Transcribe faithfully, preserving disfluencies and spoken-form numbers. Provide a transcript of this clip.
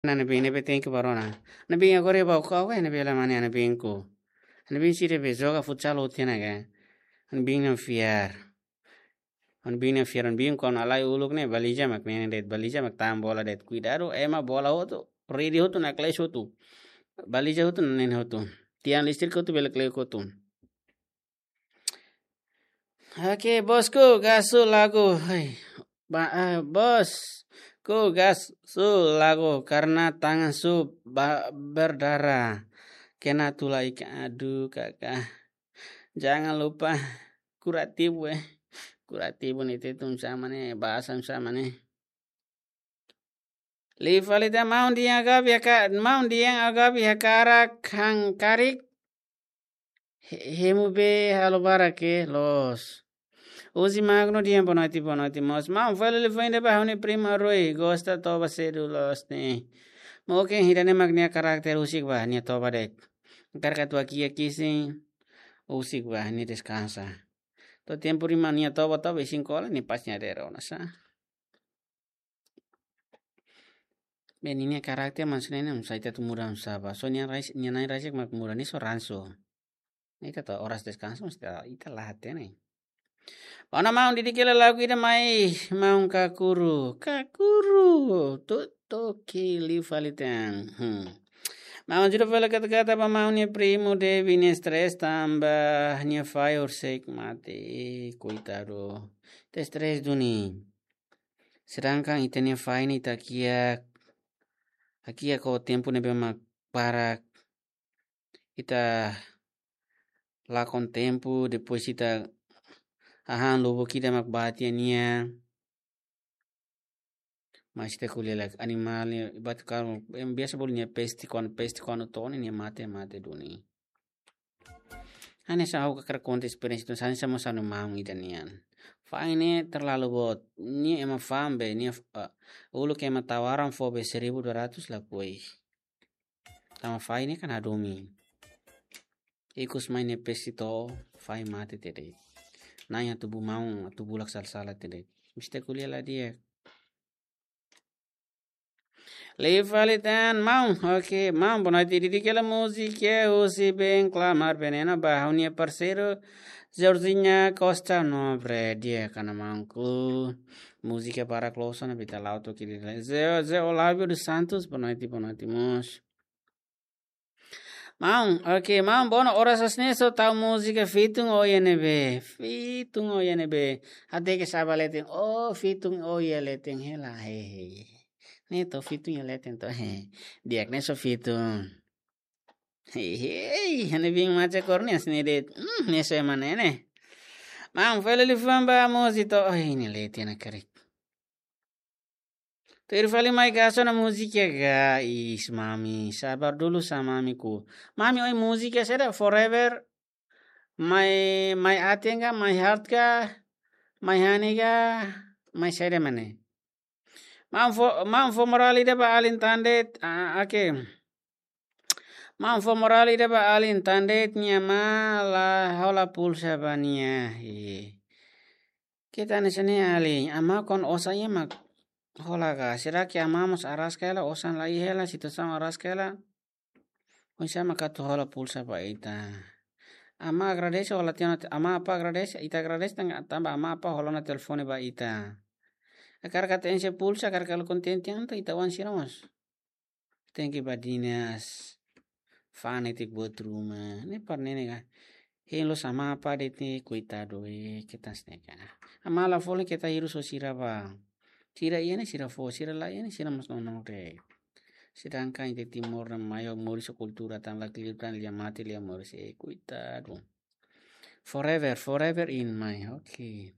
Ha'u-nia biin ne'ebé tenke barona. Ha'u-nia biin agora ba kau, eh, ne'ebé la mane ha'u-nia biin ku. Ha'u-nia biin sira be joga futsal hotu ona ka. Ha'u-nia biin ne'e fiar. Ha'u-nia biin ne'e fiar, ha'u-nia biin kuandu halai uluk ne'e baliza mak nenen de'it, baliza mak tan bola de'it. Kuidadu, ema bola hotu, redi hotu, nakle'es hotu. Baliza hotu, nenen hotu. Tiang listrik hotu, bele kle'ek hotu. Oke, bosku, gasu lagu. Hai, ba-, eh, bosku, gasu lagu karena tangan su ba-, berdarah. Kena tulah ikan, aduh, kakak. Jangan lupa kuratibu, eh. Kuratibu ne'e tetun sama ne'e, bahasa sama ne'e. Liu fali tan, maun dehan Gabi haka-, maun dehan Gabi hakarak han karik. He-, hemu be halo barak ke, loos. Uzi Magno dehan boa noite, boa noite, moos. Maun, fali liu fali tan ba ha'u-nia prima Rui, gosta toba sedu loos ne'e. Moke ida-ne'e mak nia karakter husik ba, nia toba de'it. Hakarak atu kiak isin, husik ba, nia deskansa. To'o tempu ruma nia toba, toba isin kola, nia pas nia dero, nasa. Be ninia karakter maksudnya ne'e, sai atu muda sá ba. So nia rais-, nia na'in rasik mak muda, nia só ransu. Ne'e ita to'o oras deskansa, mesti ita la hatene. Ona maun, didik hela lagu ida mai, maun Kakuru. Kakuru, tu toki liu fali tan. Hmm. Maun, ajuda fali kata-kata ba maun nia primu Devi, nia stres tanba nia fahi horisehik mate. Ih, koitadu. Ita stres duni. Sedangkan ita-nia fahi ne'e ita kiak, ita kiak ho tempu ne'ebé mak barak. Ita lakon tempu, depois ita hahán lubuk ida mak bá tiha nia. Mas ita ko'alia lai animál ne'e, ibarat karik, em, biasa bolu nia peste, kuandu peste, kuandu to'o ne'e nia mate, mate duni. Hanesan ha'u hakarak konta esperiénsia ida, hanesan mós ha'u-nia maun ida nian. Fahi ne'e terlalu boot. Nia ema fa'an be, nia, eh, uluk ema tawaran fó be seribu dua ratus lakohi. Tanba fahi ne'e kan hadomi. Ikus mai nia peste to'o, fahi mate tiha de'it. Na'in atu bá maun, atu bulak sala-sala tiha de'it. Mesti ko'alia lai di'ak. Liu fali tan, maun. Oke, maun, boa noite. Didik hela múzika husi Ben Clamar Veneno ba ha'u-nia parseiru Georgina Costa Nobre. Di'ak, maunku. Múzika para klosan, bita lau toki di Zé, Zé Olávio dos Santos. Boa noite, boa noite, moos. Maun, oke, maun, bono oras hanesan ne'e só tau múzika Fitun Oia Ne'ebé. Fitun Oia Ne'ebé. Hateke sá ba leten. Oh, Fitun Oia leten hela, he, he. Ne'e to'o Fitun Oia leten to'o, he. Di'ak, ne'e só Fitun. He, he, ha'u-nia biin maca kornia sini det. Hmm, ne'e só ema ne'e ne'e. Maun, fali liu fali tan ba múzika to'o. Oh, ne'e leten ona karik. Tuir fali mai gasu ona múzika ga, is mami, sabar dulu sa mamiku. Mami, oi múzika saida, Forever, My, My Aten ga, My Heart ga, My Honey ga, My saida mak ne'e. Maun fó, maun fó morál ida ba alin tan de'it, ah, oke. Maun fó morál ida ba alin tan de'it, nia amá la hola pulsa ba nia. Ih. Keta hanesan ne'e alin, amá kuandu osan iha mak hola ka. Será que amá mós araska hela, osan la iha hela, situasaun araska hela. Oinsá mak atu hola pulsa ba ita. Amá agradese hola tiha ona te-, amá apá agradese, ita agradese tan-, tanba amá apá hola ona telefone ba ita. Hakarak atu enxe pulsa, hakarak halo kontente entaun ita-oan sira mós tenke badinas, fa'an netik buat ruma. Ne'e para ne'e ka. Hein loos amá apá de'it, koitadu, eh, keta hanesan ne'e ka. Amá la folin keta hirus ho sira ba. Sira iha ne'e sira fó, sira la iha ne'e sira mós nonook de'it. Sedangkan ita Timor ne'e maior moris ho kultura tan la klip tan lia mate lia moris, eh, koitadu. Forever, forever in my, oke.